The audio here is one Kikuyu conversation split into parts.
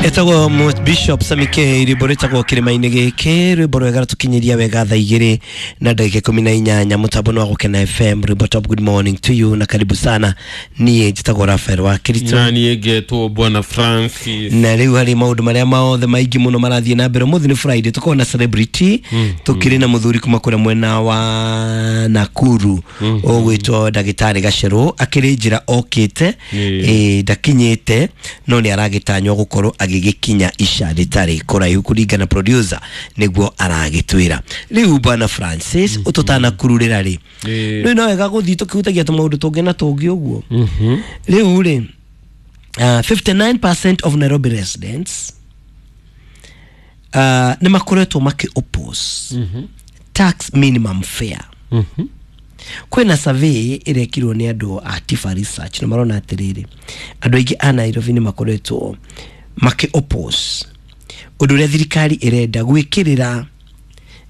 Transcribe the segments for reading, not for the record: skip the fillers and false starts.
Etagwo Bishop Samike rwimbo rwĩtagwo kĩrĩma-inĩ gĩkĩ, rwimbo rwega rũtũkinyĩria wega thaa 2:18 mũtambo wa Gũkena FM. Rwimbo top. Good morning to you na karibu sana. Niĩ njĩtagwo Rafael wa Kirito na niĩ ngetwo Bwana Francis. Na rĩu harĩ maũndũ marĩa maothe maingĩ mũno marathiĩ na mbere. Ũmũthĩ nĩ Friday, tũkorwo na celebrity, tũkĩrĩ na mũthuri kuma kũrĩa mwena wa Nakuru ũgwĩtwo Ndagĩtarĩ Gacerũ, akĩrĩ njĩra okĩte, ndakinyĩte no nĩ aragĩtanywo gũkorwo agĩgĩkinya ica rĩtarĩ kũraihu kũringana producer nĩguo aragĩtwĩra. Rĩu Bwana Francis, ũtũtanakururĩra rĩ, rĩu no wega gũthiĩ tũkĩhutagia tũmaũndũ tũngĩ na tũngĩ ũguo. Rĩu rĩ, 59% of Nairobi residents nĩ makoretwo makĩ oppose tax minimum fare. Kwĩna survey ĩrekirwo nĩ andũ a Tifa Research na marona atĩrĩrĩ, andũ aingĩ a Nairobi nĩ makoretwo makĩ oppose ũndũ ũrĩa thirikari ĩrenda gwĩkĩrĩra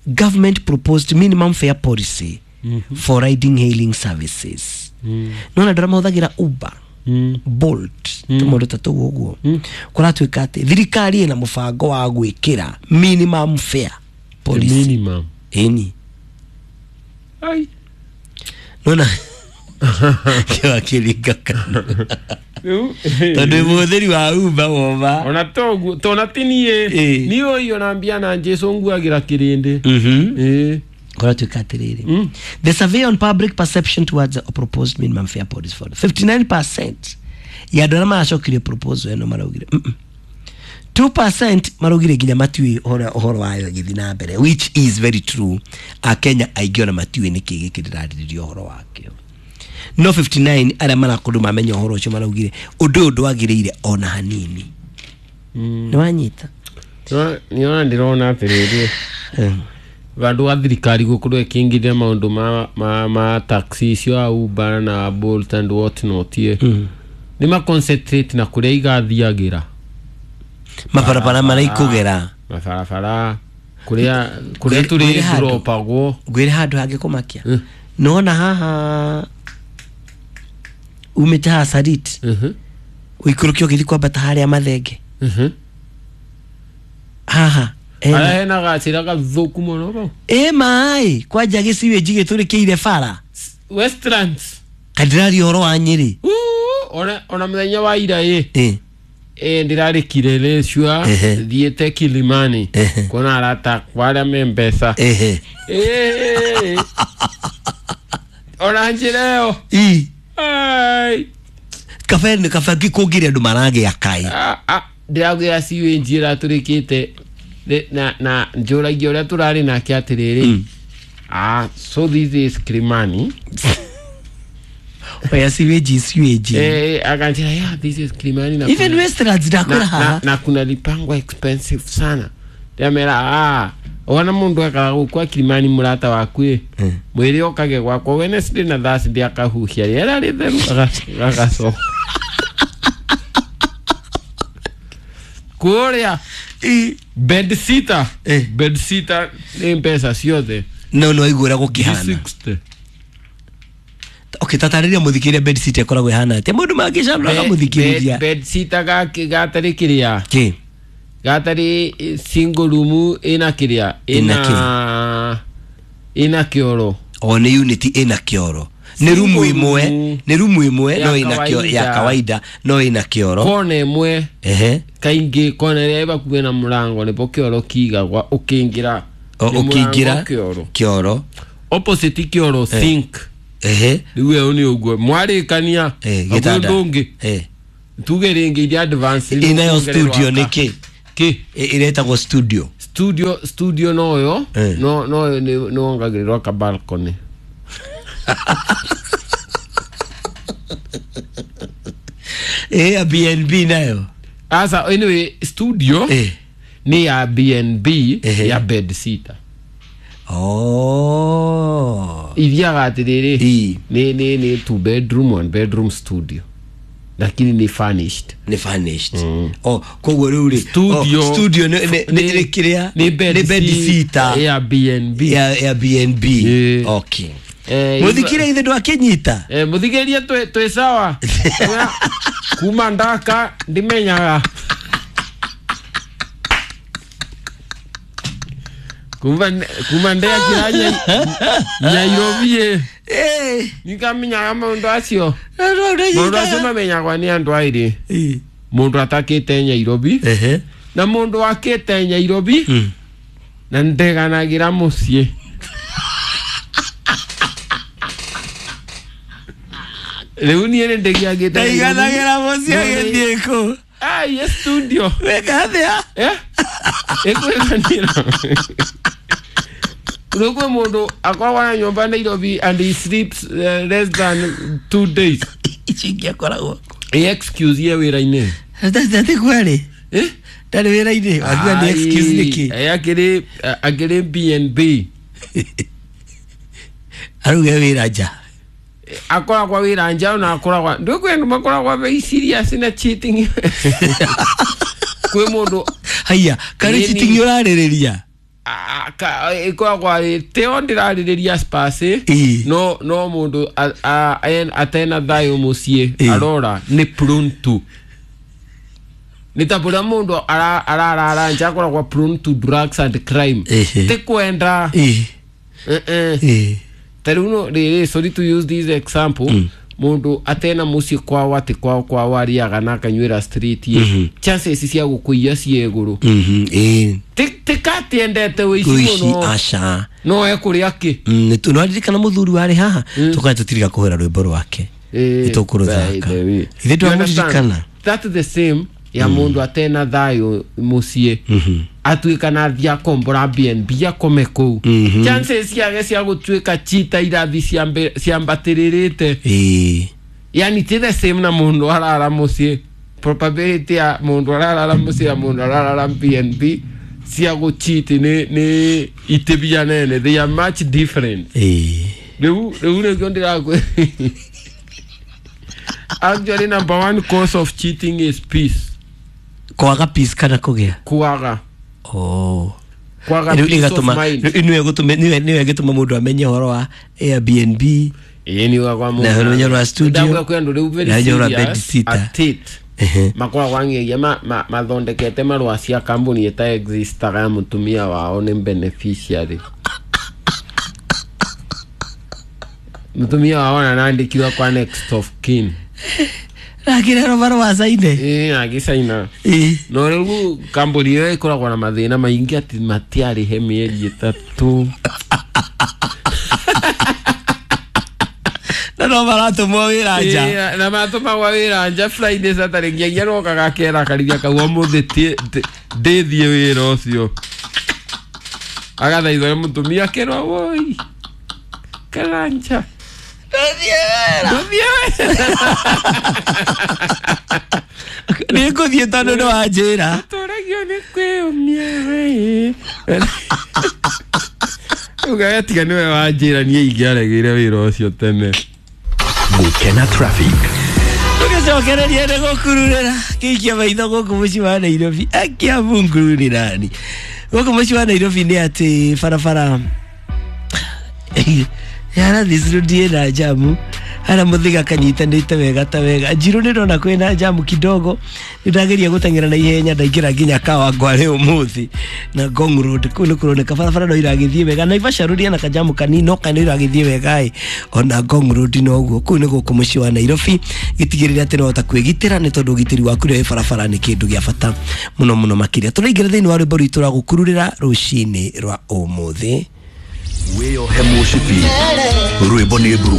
government proposed minimum fare policy for riding hailing services. Nona andũ arĩa mahũthagĩra Uber, Bolt, tũmaũndũ ta tũu ũguo, kũratuĩka atĩ thirikari ĩna mũbango wa gwĩkĩra minimum fare policy. Minimum. Ĩni. Ai. Nona kĩwakiringa kanua tondũ mũhũthĩri wa Uber woma ona toguo tona ti niĩ niĩ ũyũ ona mbia na Jesu nguagĩra kĩrĩndĩ. Kũratuĩka atĩrĩrĩ, the survey on public perception towards a proposed minimum fare policy for 59% ya andũ arĩa maracokirie proposal ĩno maraugire 2% maraugire nginya matiũĩ ũhoro wayo ĩgĩthiĩ na mbere, which is very true. Akenya aingĩ ona matiũĩ nĩkĩ gĩkĩ ndĩrarĩrĩria ũhoro wakĩo. No 59 arĩa marakorirwo mamenya ũhoro ũcio maraugire ũndũ ũyũ ndwagĩrĩire ona hanini. Nĩ wanyita? Nĩona ndĩrona atĩrĩrĩ, vandũ wa thirikari gũkorwo ĩkĩingĩria maũndũ ma taxi icio a Uber na Bolt and what not, nĩ ma concentrate na kũrĩa igathiagĩra, mabarabara marĩa ikũgera, mabarabara kũrĩa tũrĩ dropagwo. Ngwĩre handũ hangĩ kũmakia. Nona haha umĩte haha Sarit, ũikũrũke ũgĩthiĩ kwambata harĩa Mathenge, haha harĩa hena gacĩra gathũku mũno bau. Ĩ maĩ kwanja gĩciwĩnji gĩtũrĩkĩire bara Westlands. Kandĩraria ũhoro wa Nyĩrĩ. Ona mũthenya wa ira ĩ ndĩrarĩ Kileleshwa thiĩte Kilimani kuona arata akwa arĩa me mbeca. Ona njĩra ĩyo kabe nĩ kabe kũngĩrĩ andũ maragĩa kai. Ndĩraugĩra ciwĩnji ĩratũrĩkĩte na njũragia ũrĩa tũrarĩ nake atĩrĩrĩ, so this is Kilimani. Oya siweji siweji. Akanjira, yeah, this is Kilimani na even Westlands ndakura haha na kuna lipangwa expensive sana. Ndamera wana mundu akara gukwa Kilimani murata waku mwiri okage gwakwa Wednesday na Thursday akahuhia rĩera rĩtheru agacoka kũrĩa bed sitter. Bed sitter nĩ mbeca ciothe. No no igũra gũkĩhana. Okay, tatarĩria mũthikĩrĩria bed sitter ĩkoragwo ĩhana atĩa? Mũndũ mangĩcamũra akamũthikĩrĩria. Bed sitter gatarĩ kĩrĩa? Kĩ? Gatarĩ single room ĩna kĩrĩa? Ĩna kĩoro. O nĩ unit ĩna kĩoro. Nĩ rumu ĩmwe, nĩ rumu ĩmwe no ĩna kĩoro ya kawaida no ĩna kĩoro. Kona ĩmwe. Kaingĩ kona ĩrĩa ĩbakuhĩ na mũrango nĩpo kĩoro kĩigagwa ũkĩingĩra. Ũkĩingĩra kĩoro. Opposite kĩoro sink. Rĩu ĩyo nĩ ũguo mwarĩkania gĩtanda ũngĩ tuge rĩngĩ iria advance ĩnayo studio nĩkĩ kĩ ĩretagwo studio studio noyo no no nĩ wongagĩrĩrwo ka balcony. Airbnb nayo asa. Anyway, studio ni ya B&B ya bed sitter. Ithiaga atĩrĩrĩ, nĩ 2 bedroom 1 bedroom studio, lakini ni furnished. Ni furnished. Koguo rĩu rĩ studio nĩ kĩrĩa nĩ bed sitter ya B&B ya B&B. Okay. Mũthikĩrĩria ithe ndwakĩnyita. Mũthikĩrĩria twĩ sawa. Kuma ndaka ndimenyaga. Kuma ndekira Nairobi Eh, nikamenyaga maundu acio. na no Maundu acio ndanyitaga. mamenyagwa ni andu airi. Eh. Mundu atakite Nairobi Ehe. na mundu akite Nairobi na ndeganagira mucii. Riu niĩ nĩ ndĩgiagĩte. Ndaiganagĩra mũciĩ agĩthiĩ kũ? Ai, studio. Weka atĩa? Eh? Ĩkwĩganĩra. Rĩu kwĩ mũndũ akoragwo na nyũmba Nairobi and he sleeps less than 2 days. Icio ingĩ akoragwo. Ĩ excuse ye wĩra-inĩ. Atĩ kwarĩ? Eh? Ndarĩ wĩra-inĩ. Wakiuga nĩ excuse nĩkĩ? Ai, akĩrĩ B&B. Aruge wĩra nja. Akoragwo wĩra nja ona akoragwo ndũ kwĩ andũ makoragwo very serious na cheating. Kwĩ mũndũ. Haiya, karĩ Nĩ- cheating ũrarĩrĩria? Ĩkoragwo arĩ teo ndĩrarĩrĩria Spurs. Ĩ. No mũndũ atena thayũ mũciĩ Ĩ. arora nĩ prone to nĩ ta bũrĩa mũndũ ararara nja akoragwo prone to drugs and crime. Ehe. Ti kwenda. Ĩ. Eh, eh. Ĩ. Ta rĩu no rĩrĩ, sorry to use this example, mũndũ atena mũciĩ kwao atĩ kwao arĩaga na akanyuĩra street ĩ, chances cia gũkũiya ciĩ igũrũ. Ĩ. Tikatiendete wĩici Ũici mũno. aca. No ekũrĩa kĩ. Nĩwaririkana mũthuri warĩ haha tũkaya tũtirika kũhũra rwĩmbo rwake Eh, nĩtũkũrũthaka. by the way. Ithe You understand? ndwamũririkana. That's the same ya mũndũ atena thayũ mũciĩ atuĩka na athiĩ akombora B&B akome kũu, chances ciake cia gũtuĩka chita irathi ciambatĩrĩrĩte. Ĩ. Yani ti the same na mũndũ arara mũciĩ. Probability ya mũndũ ararara mũciĩ na mũndũ ararara B&B cia gũchiti nĩ itibia nene. They are much different. Ĩ. Rĩu nĩkĩo ndĩrakwĩ actually number one cause of cheating is peace. Kwaga peace kana kũgĩa? Kwaga. Oh. Kwaga Rĩu peace of ĩgatũma mind. nĩwe ĩgĩtũma mũndũ amenye ũhoro wa Airbnb. Ĩĩ, nĩ uga kwa mũndũ. Na ũmenyo rwa studio. Ndauga kwĩ andũ rĩu very Na ũmenyo rwa serious bed sitter. at it. Ehe. Makoragwo ang'egia mathondekete marũa cia kambuni ĩta existaga ya mũtumia wao nĩ beneficiary. Mũtumia wao ona nandĩkirwo kwa next of kin. Rakĩrerwo marũa caine. Ĩĩ, agĩcaina. Ĩ. No rĩu kambuni ĩyo ĩkoragwo na mathĩna maingĩ atĩ matiarĩhe mĩeri 3. Na no maratũmwo wĩra nja. Ĩĩ, na matũmagwo wĩra nja Friday, Saturday, nginya roka gakera karithia kau ũmũthĩ ndĩthiĩ wĩra ũcio agathaithwo nĩ mũtumia akerwo woi karanja. Ndathiĩ wĩra. Ndũthiĩ wĩra. Nĩ ngũthiĩ tondũ nĩ wanjĩra. Tũragio nĩ kwĩyũmia we ũgagatiga nĩwe wanjĩra niĩ ingĩaregire wĩra ũcio tene. Gukena Traffic. Tũgĩcokereria nĩ gũkururĩra kĩikia maitho gũkũ mũciĩ wa Nairobi akia Mungu nĩ nani gũkũ mũciĩ wa Nairobi nĩ atĩ barabara ya Rathis Road ĩna jamu hara mũthiga kanyitanĩte wega ta wega. Njirũ nĩ ndona kwĩna jamu kidogo, nĩ ndageria gũteng'era na ihenya ndaingĩra nginya Kawangware ũmũthĩ na Ngong Road kũu nĩ kũroneka barabara no iragĩthiĩ wega. Naivasha Road ĩna kajamu kanini no kana iragĩthiĩ wega ĩ ona Ngong Road noguo. Kũu nĩ gũkũ mũciĩ wa Nairobi gĩtigĩrĩre atĩ nĩwahota kwĩgitĩra nĩ tondũ ũgitĩri waku rĩrĩa wĩ barabara nĩ kĩndũ gĩa bata mũno mũno makĩria. Tũraingĩra thĩinĩ wa rwĩmbo rwitũ rwa gũkururĩra rũcinĩ rwa ũmũthĩ. Wĩyohe mũcibi. Rwĩmbo nĩ mburu.